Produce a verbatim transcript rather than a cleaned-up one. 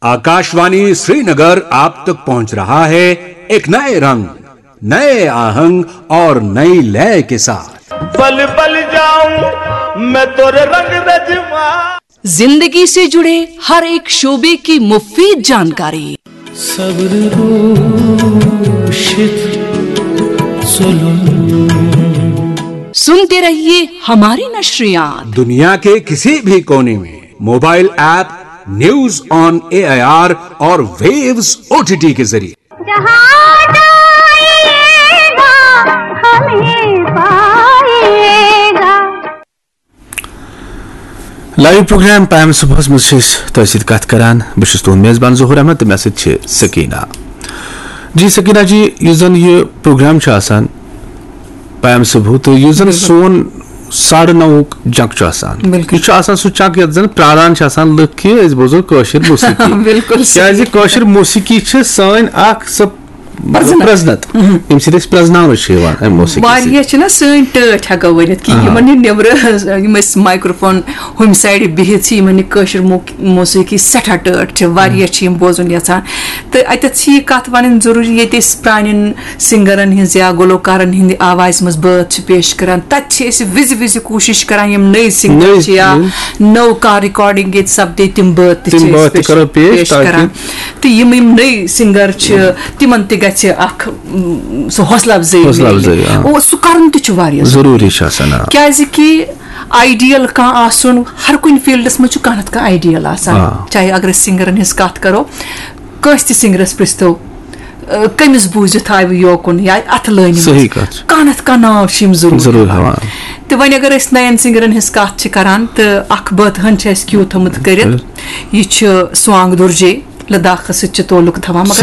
आकाशवाणी श्रीनगर आप तक पहुंच रहा है एक नए रंग, नए आहंग और नई लय के साथ। बल बल जाऊं मैं तोरे रंग रजमा। जिंदगी से जुड़े हर एक शोबे की मुफीद जानकारी। सब्र सुनते रहिए हमारी नशरियात। दुनिया के किसी भी कोने में mobile app news on AIR और वेव्स ओटीटी के जरिए। जहाँ जाएगा, हमें पाएगा। لائیو پروگرام پیم صبحس منٛز چھِ أسۍ تۄہہِ سۭتۍ کتھ کران۔ بہٕ چھُس تُہُنٛد میزبان ظہور احمد تہٕ مےٚ سۭتۍ چھِ سکینہ۔ جی سکینہ جی، یُس زن یہِ پروگرام چھُ آسان پیم صبح، تہٕ یُس زن سون ساڑٕ نَوُک جنک چھُ آسان، بِلکُل۔ یہِ چھُ آسان سُہ چنک یتھ زن پراران چھِ آسان لُکھ کہِ أسۍ بوزو کٲشِر موسیقی۔ بِلکُل صحیح۔ کیازِ کٲشِر موسیقی چھِ سٲنۍ اکھ سۄ پرزنت۔ پرزنت۔ ییٚمہِ سۭتۍ أسۍ پرزناونہٕ چھِ یِوان امہِ موسیقی سۭتۍ۔ واریاہ چھِنہ سٲنۍ ٹٲٹھۍ ہٮ۪کو ؤنِتھ کہِ آ۔ یِمن یہِ نیٚبرٕ، یِم أسۍ مایکروفون ہُمہِ سایڈٕ بِہِتھ چھِ، یِمن یہِ کٲشِر مو-، موسیقی سٮ۪ٹھاہ ٹٲٹھ چھِ، واریاہ چھِ یِم بوزُن یژھان۔ تہٕ اتٮ۪تھ چھِ یہِ کتھ ونٕنۍ ضروٗری، ییٚتہِ أسۍ پرانٮ۪ن سنگرن ہٕنٛز یا گلوکارن ہٕنٛدِ آوازِ منٛز بٲتھ چھِ پیش کران، تتہِ چھِ أسۍ وِزِ وِزِ کوٗشش کران یِم نٔے سنگر نٔے چھِ یا نٔے۔ نٔو کانٛہہ ریکارڈنگ ییٚتہِ سپدے، تِم بٲتھ تہِ تِم چھِ أسۍ بٲتھ تہِ پیش، کرو پیش پیش تاکہِ کران۔ تہٕ یِم یِم نٔے سنگر چھِ، تِمن تہِ گژھِ اکھ، م، سُہ حوصلہٕ افزٲیی حوصلہٕ میلہِ۔ افزٲیی، آ۔ اور سُہ کرُن تہِ چھُ واریاہ ضروٗری۔ ضروٗری چھُ آسان، آ۔ کیازِ کہِ آیڈیل کانٛہہ آسُن، ہر کُنہِ فیلڈس منٛز چھُ کانٛہہ نتہٕ کانٛہہ آیڈیل آسان۔ آ۔ چاہے اگر أسۍ سنگرن ہٕنٛز کتھ کرو، کٲنٛسہِ تہِ سنگرس پرژھتو، آ، کٔمِس بوٗزِتھ آیہِ یوکُن یا اتھٕ لٲنہِ منٛز؟ صحیح کتھ چھِ۔ کانٛہہ نتہٕ کانٛہہ ناو چھِ یِم ضروٗر ضروٗر ہٮ۪وان۔ ہٮ۪وان۔ تہٕ وۄنۍ اگر أسۍ نین سنگرن ہٕنٛز کتھ چھِ کران، تہٕ اکھ بٲتھ ہن چھِ اَسہِ کیو تھٲومٕژ کٔرِتھ۔ بِلکُل۔ یہِ چھُ سوانگ درجے۔ لداخس سۭتۍ چھِ تعلق تھاوان، مگر